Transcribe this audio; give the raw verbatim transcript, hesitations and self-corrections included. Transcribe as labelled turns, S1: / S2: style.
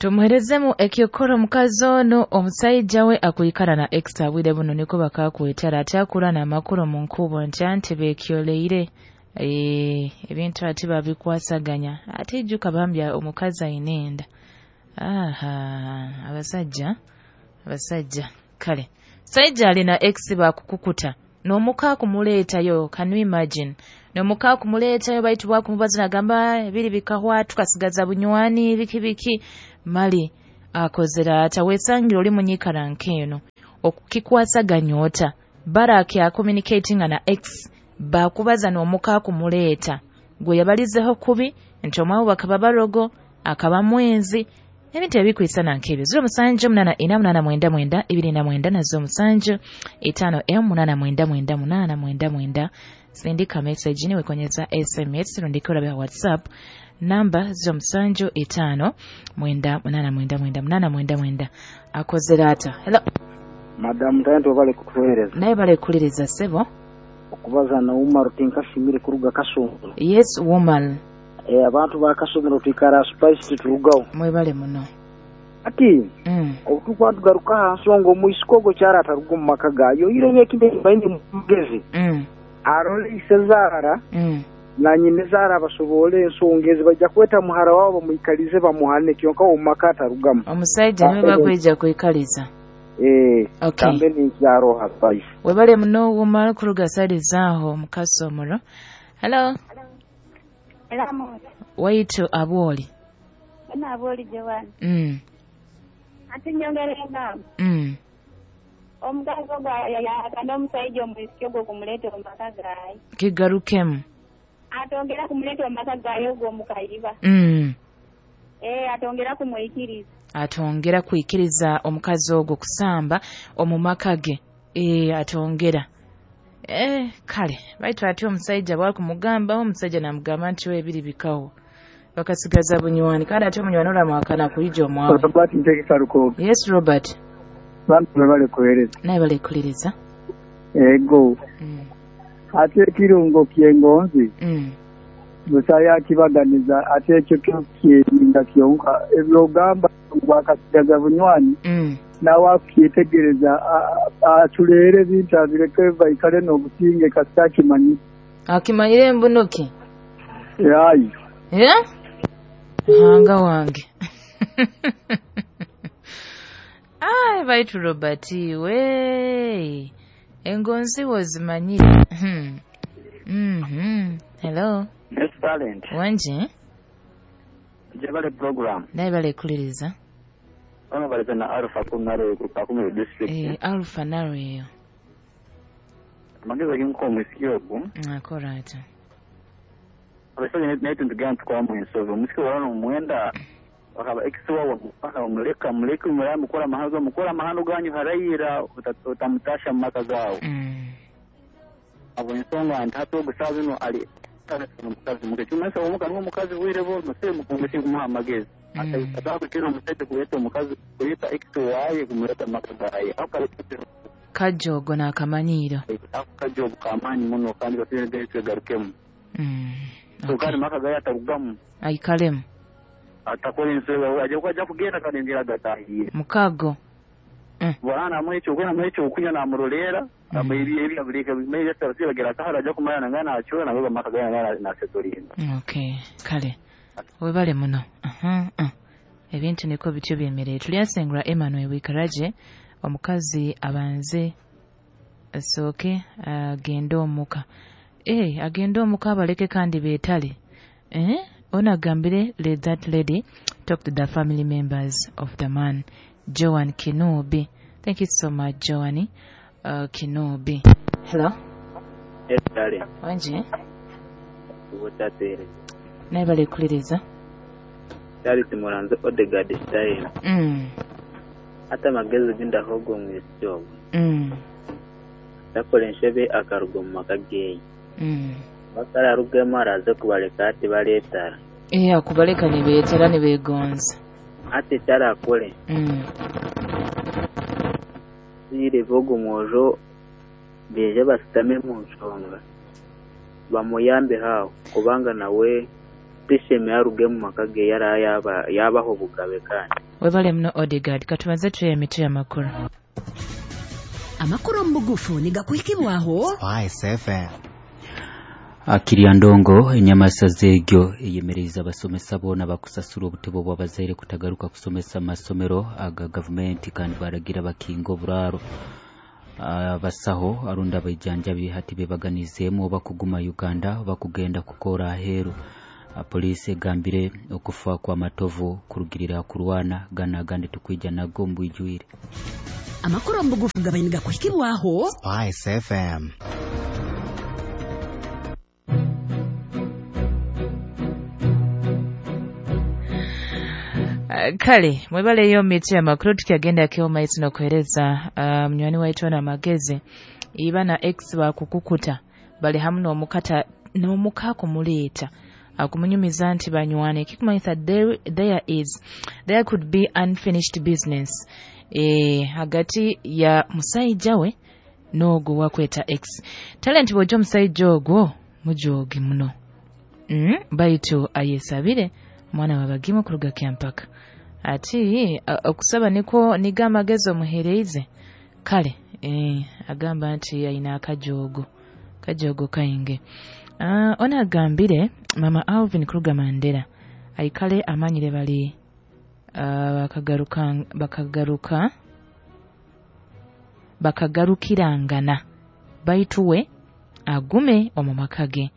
S1: Tumuherezemu ekyokora omukazi ono omusaija we akwikara na ex abwire buno niko bakakwetara atyakura n'amakuru omu nkubo nti anti bekyoleire eh, ebintu ati babikwasaganya ate ijuka bambya omukazi aine enda. Aha, abasajja abasajja kale saija alina ex bakukukuta n'omuka kumuleetayo, can you imagine, n'omuka kumuleetayo baitu bwakumubaza nagamba ebiri bikahwa tukasigaza bunywani biki biki mali akozera ata wesangira oli munyikara nk'eno okukikwasaganya ota baraki acommunicating na ex bakubaza n'omuka kumuleeta gwe yabalizeho kubi nti omwawo bakaba barogo akaba mwenzi ebintu ebikwisana nk'ebyo. Ziro musanju munana ina munana mwenda mwenda ibiri na mwenda na zo musanju itano emu munana mwenda mwenda munana mwenda mwenda. Sindika message niwe konyeza S M S rundika urabe WhatsApp namba ziro musanju itano mwenda munana mwenda mwenda munana mwenda mwenda. Akozera ata. Hello
S2: Madam Tayento, bale kutuhereza.
S1: Naye bale kuliriza sebo.
S2: Okubaza na Umar tinkashimire kuruga Kasongo.
S1: Yes woman.
S2: Eh, abantu ba Kasongo twikara spice turugaho.
S1: Mwebale muno.
S2: Ati
S1: mm.
S2: Obutukwa tugaruka ha nsonga omwisikogo kyara ataruga mu maka gayo ire ekinde baine mugezi.
S1: Mm.
S2: Arole isezara.
S1: Mm.
S2: Na nyine zara basobole ensonga ezi bajja kweta muhara wabo bamuikalize bamuhane kyonka omu maka atarugamu.
S1: Omusajja niwe bakwijja kuikaliza.
S2: Eh,
S1: okay.
S2: Kambe ni kyaro ha spice.
S1: Webale muno Umar kuruga side zaho mukasomero. Hello.
S3: Hello.
S1: Waitu aboli.
S3: Bana aboli Joan.
S1: Mm.
S3: Ati nyongere ngam.
S1: Mm.
S3: Omugazo gwa ya kando omusajja omwisiki ogwo kumuleta mu maka gaye.
S1: Kigarukemu.
S3: Atongera kumuleta mu maka gaye ogwo mukayiba.
S1: Mm.
S3: Eh, atongera kumwikiriza.
S1: Atongera kuikiriza omukazi ogwo kusamba omu maka ge. Eh, atongera. Eh, kale baitu ati omusajja bwakumugamba omusajja namugamba nti we ebiri bikawo bakasigaza bunywani kandi ati omunywani olamwakana kuyija omwawe.
S4: Robert Ntegeka Lukogo.
S1: Yes Robert.
S4: Bantu bale kuhereza.
S1: Naye bale kuliriza.
S4: Ego.
S1: Mm.
S4: Ate ekirungo ky'engonzi.
S1: Mm.
S4: Musaya akibaganiza ate ekyo kyokyerinda kyonka ebyogamba bwakasigaza bunywani.
S1: Mm.
S4: Nawe akyetegereza atuleere ebintu abireke baikale n'obusinge kasita akimanyi.
S1: Akimanyire embunuki?
S4: Ayi.
S1: Eh? Hanga wange. Ai baitu Robert we. Engonzi wozimanyire. Mhm. Mhm. Hello.
S5: Yes talent.
S1: Wanje?
S5: Jebale program.
S1: Naye bale kuliriza.
S5: Ono baleta na Alpha Kunaro ku Kakumiro district.
S1: Eh, Alpha naro eyo.
S5: Amagezi ginko omwisiki ogwo.
S1: Akora ata.
S5: Abasajja naye tugenda tukwamu ensobi. Omusiki wano omwenda bakaba ex wawe mupaka omuleka muleke muramu mukora amahano mukora amahano ganyu harayira utamutasha mu maka gawo.
S1: Mm.
S5: Abo ensonga nti hati ogusaaza ino ali omukazi muke kimasa omuka n'omukazi bwire bo muse mukumbushi kumuha amagezi.
S1: Mm.
S5: Atakutira omusajja kuleta omukazi kuleta ex waye kumuleta mu maka gaye.
S1: Kajogo n'akamanyiiro.
S5: Ako kajogo kamaanyi muno kandi bafire twegarukemu.
S1: Mm.
S5: Okay. Kandi maka gaye atarugamu.
S1: Aikalemu.
S5: Atakora ensobi ajja kujja kugenda kandi ngira gatahiye.
S1: Mukago. Mm.
S5: Bwana amwecho kwena mwecho okunya namurolera amebi ebi abuleka bimeje tarasiba gira kahara ajja kumanya ngana achora nawe maka gaye ngana na setorinda.
S1: Okay, kale. Webale muno. Aha. Uh -huh. Ebintu niko bityo byemereye. Tulyasengura Emmanuel Wikaraje omukazi abanze asooke agende omuka. Eh, agende omuka abaleke kandi beetale. Eh? Onagambire let that lady talk to the family members of the man. Joan Kinobi. Thank you so much, Joanny uh, Kinobi. Hello.
S5: Yes, darling.
S1: Wanje?
S5: Ubutatere.
S1: Naye bale kuliriza.
S5: Charles Muranzo Odegaard style.
S1: Mm.
S5: Ata magezi ginda hogo mwisiki ogwo.
S1: Mm.
S5: Takola enshebe akaruga mu maka geyi.
S1: Mm.
S5: Bakararugemu araze kubaleka ati baleetara.
S1: Eh, akubaleka nibeetara nibeegonza.
S5: Ati kyarakore.
S1: Mm.
S5: Zire bogo mwojo beje basitame mu nshonga. Bamuyambe hawo kubanga nawe tisheme aruge mu maka ge yara yaba yabaho bugabe kandi.
S1: Webale muno Odegaard. Katubanze tuye emitwe y'amakuru.
S6: Amakuru omu bugufu nigakuhikibwaho
S7: Spice F M.
S8: Akiri ndongo enyamasa zegyo eyemereza abasomesa bona bakusasura obutebo bw'abazaire kutagaruka kusomesa amasomero aga gavumenti kandi baragira bakinga oburaro abasaho arunda abajanjabi hati bebaganizeemu oba kuguma Uganda oba kugenda kukora aheeru. Polisi egambire okufa kwa Matovu kurugirira kurwana gana agandi tukwija nago mbwijwire.
S6: Amakuru omu bugufu gabaye nigakuhikibwaho
S7: Spice F M.
S1: Kale mwebaleyo miti amakuru tukyagenda kyo maiso nokuhereza uh, munywani waitu na magezi iba na ex bakukukuta bali hamu n'omukata n'omuka kumuleeta akumunyumiza nti banywane kikumanyisa there, there is there could be unfinished business eh hagati ya musajja we n'ogwo wakweta ex talent bw'ojja omusajja ogwo mujoge muno mm, baitu ayesabire mwana wabagimu kuruga kyampaka ati okusaba niko niga amagezi omuhereize kale eh, agamba nti ayina akajogo kajogo kainge. Uh, ona agambire mama Alvin kuruga Mandera aikale amanyire bali uh, bakagaruka bakagaruka bakagarukirangana baituwe agume omu makage